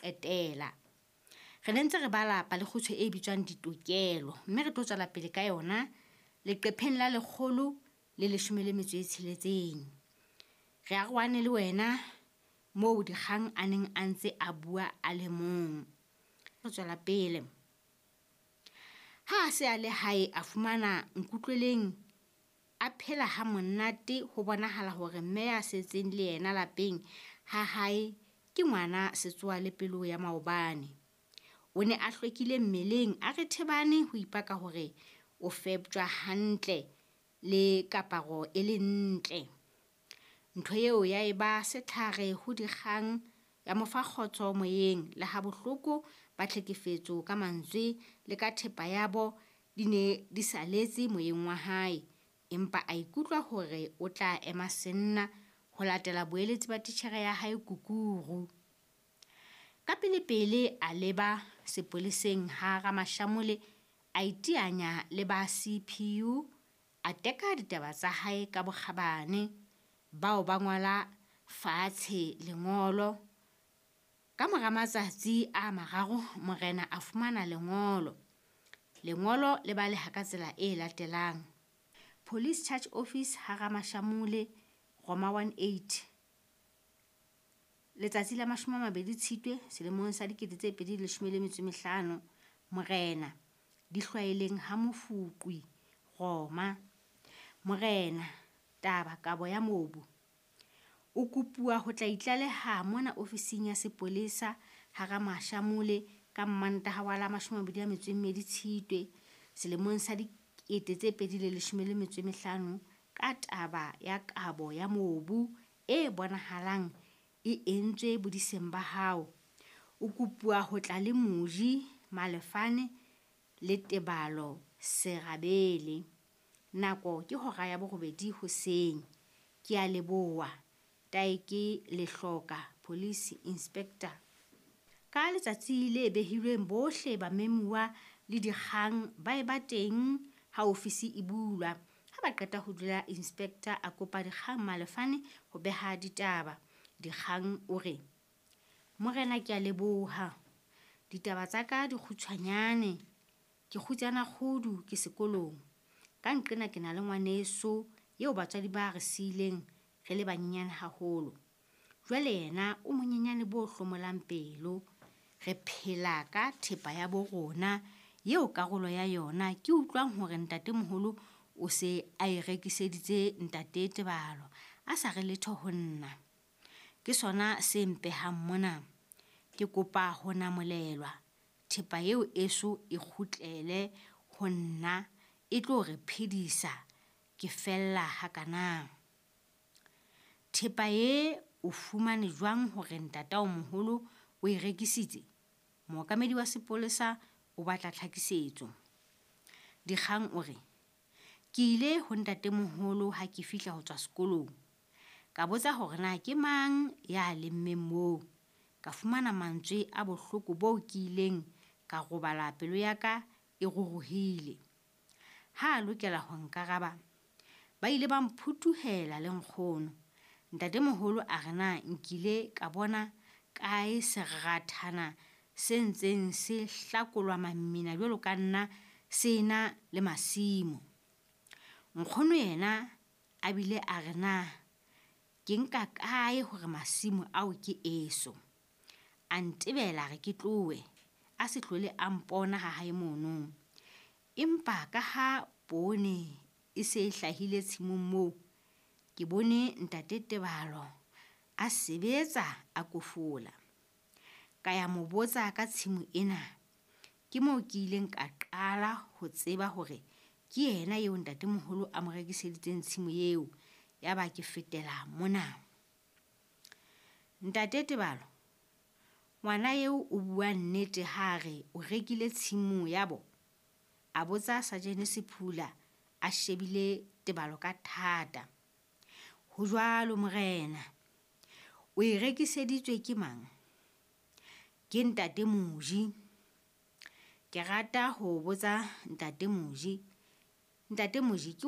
Qetela. Re ne ntse re bala palekgutshwe e bitswang Ditokelo mme re tlo tswela pele ka yona leqepheng la 116. Re arohane le wena moo Dikgang a neng a ntse a bua a le mong. Re tswela pele. Ha a se a le hae a fumana Nkutlweleng a phela ha monate ho bonahala hore mme ya setseng le yena lapeng ha hae ke ngwana setsoa le pelo ya maobane. O ne a hlwekile mmeleng a re thebane ho ipaka hore o feptjwa hantle le kaparo e le ntle. Ntho eo ya eba setlhare ho Dikgang ya mo fa kgotso moyeng le ha bohloko ba tlhekefetso ka mantswe le ka thepa yabo di ne di saletse moyeng wa hae. Empa a ikutlwa hore o tla ema senna ho latela boeletsi ba titjhere ya hae Kukuru. Ka pelepele a leba sepoleseng ha Ramashamole a iteanya le ba CPU a teka ditaba tsa hae ka bokgabane. Bao ba ngola fatshe lengolo. Ka mora matsatsi a mararo morena a fumana lengolo. Lengolo le baleha ka tsela e latelang. Police Charge Office ha Ramashamole, Roma 18. Letsatsi la 20 Tshitwe selemong sa 2015. Morena, Dihlwaeleng ha Mofuqwi, Roma. Morena, taba kabo ya mobu. O kopuwa ho tla itlaleha mona ofising ya sepolesa ha Ramashamole ka Mmantaha wa la 22 Tshitwe selemong sa 2015 ka taba ya kabo ya mobu e bonahalang e entswe bodiseng ba hao. O kopuwa ho tla le Moji Malefane le Tebalo Serabele. Nako ke hora ya 8 hoseng. Ke a leboha. Taeke Lehloka, Police Inspector. Ka letsatsi le behilweng bohle bamemuwa le Dikgang ba eba teng ha ofisi e bulwa. Ha ba qeta ho dula inspector a kopa Dikgang Malefane ho beha ditaba. Dikgang o re, Morena ke a leboha. Ditaba tsa ka di kgutshwanyane. Ke kgutsana kgudu ke sekolong. Ka nqena ke na le ngwaneso eo batswadi ba re siileng re le banyenyane haholo. Jwale yena o monyenyane bo hlomolang pelo. Re phela ka thepa ya bo rona eo karolo ya yona ke utlwang hore ntatemoholo o se a e rekiseditse ntate Tebalo a sa re letho ho nna. Ke sona se mpehang mona. Ke kopa ho namolelwa. Thepa eo eso e kgutlele ho nna e tlo re phedisa ke fella hakana. Thepa e o fumane jwang hore ntataomoholo o e rekisitse? Mookamedi wa sepolesa o batla tlhakisetso. Dikgang o re, ke ile ho ntatemoholo ha ke fihla ho tswa sekolong. Ka botsa hore na ke mang ya lemmeng moo. Ka fumana mantswe a bohloko boo ke ileng ka robala pelo ya ka e ruruhile. Ha a lokela ho nkaraba, ba ile ba mphutuhela le nkgono. Ntatemoholo a re na nkile ka bona kae serathana se ntseng se hlakolwa mamina jwalo ka nna se na le masimo. Nkgono yena a bile a re na ke nka kae hore masimo ao ke eso. A ntebela re ke tlohe, a se hlole a mpona ha hae mono. Empa ka ha poone e se e hlahile tshimong moo, ke bone ntate Tebalo a sebetsa a kofola. Ka ya mo botsa ka tshimo ena. Ke moo ke ileng ka qala ho tseba hore ke yena eo ntatemoholo a mo rekiseditseng tshimo eo. Yaba ke fetela mona. Ntate Tebalo, ngwana eo o bua nnete ha re o rekile tshimo ya bo? A botsa Sajene Sephula a shebile Tebalo ka thata. Ho jwalo morena. O e rekiseditswe ke mang? Ke ntate Moji. Ke rata ho botsa ntate Moji. Ntate Moji ke